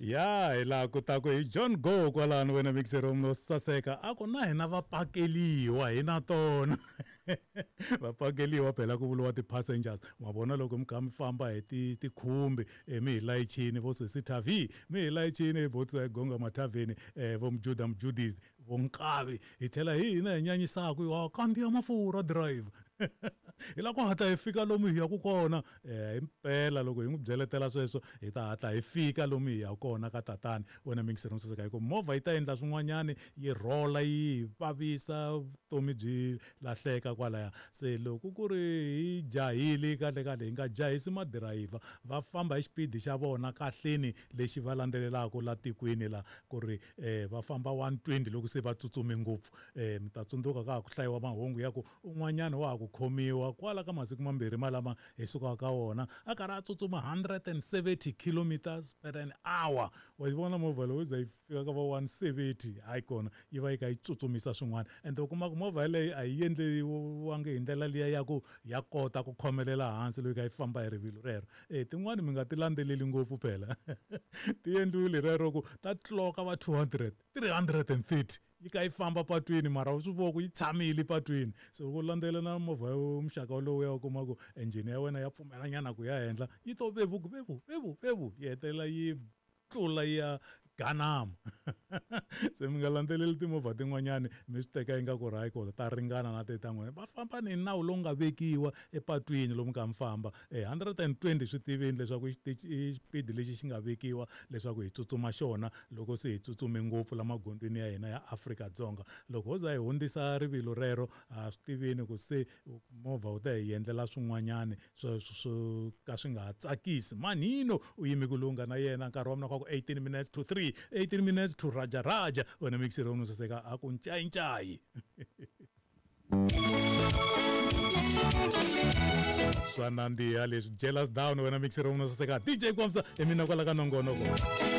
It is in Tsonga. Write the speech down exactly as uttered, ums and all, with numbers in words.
Ya hi laha ku taku hi John Go kwalano wena mixero no saseka a ku na hina va pakeliwa hi na tona va pakeliwa phela ku vuriwa ti-passengers ma vona loko mi kha mi famba hi ti tikhumbi eh, mi hi layichini vo sesi Tavi mi hi layichini vo Gonga Mathaveni eh, vo Mjuda Mjudith vo Nkavi hi tlhela hi hina hi nyanyisaka wa kandziya mafurha drive hi lava ku hatla hi fika lomu hi yaku kona eh himpela loko hi n'wi byeletela sweswo hi ta hatla hi fika lomu hi ya kona ka tatani wena mixer no saseka hi ku movha yi ta endla swin'wanyani yi rhola yi vavisa vutomi byi lahleka kwalaya se loko ku ri hi jahile kahle kahle hi nga jahisi madirayivha va famba hi xipidi xa vona kahleni lexi va landzelelaka la tikweni la ku ri eh va famba one twenty loko se va tsutsume ngopfu eh mi ta tsundzuka ka ha ku hlayiwa mahungu ya ku un'wanyana wa ha ku khomiwa kwala ka masiku mambirhi malama hi sukaka ka wona a karhi a tsutsuma hundred and seventy kilometers per an hour wa yi vona movha lowu za yi fika ka va one seventy hayi kona yi va yi kha yi tsutsumisa swin'wana ende u kuma ku movha yeleyo a yi endliwangi hi ndlela liya ya ku ya kota ku khomelela hansi loko yi kha yi famba hi rivilo rero e tin'wani mi nga ti landzeleli ngopfu phela ti endliwile rero ku ta tloka va two hundred three hundred and thirty yi kha yi famba patwini mara u swi vona ku yi tshamile patwini so loko u landzelela na movha yo muxaka wolowo ya u kuma ku engine ya wena ya pfumelanyana ku ya henhla yi to vevuku vevu vevu vevu yi hetelela yi tlula yi ya ganama se mi nga landzeleli timovha tin'wanyani mi swi teka ingaku ri hayi kona ta ringana na te ta n'wina va famba ni nawu lowu nga vekiwa epatwini lomu ka mi famba e hundred and twenty swi tivini leswaku i xitichi i xipidi lexi xi nga vekiwa leswaku hi tsutsuma xona loko se hi tsutsume ngopfu la magondzweni ya hina ya Afrika-Dzonga loko ho za hi hundzisa rivilo rero ha swi tivini ku se movha wu ta hi endlela swin'wanyani swo swo ka swi nga ha tsakisi manhino u yime ku lunga na yena nkarhi wa mina kwa ku eighteen minutes to three eighteen minutes to raja raja wena mixer no saseka a ku ncayincayi swa nandziha leswi jealous down wena mixer no saseka D J Kwamsa hi mina kwala ka nongonoko.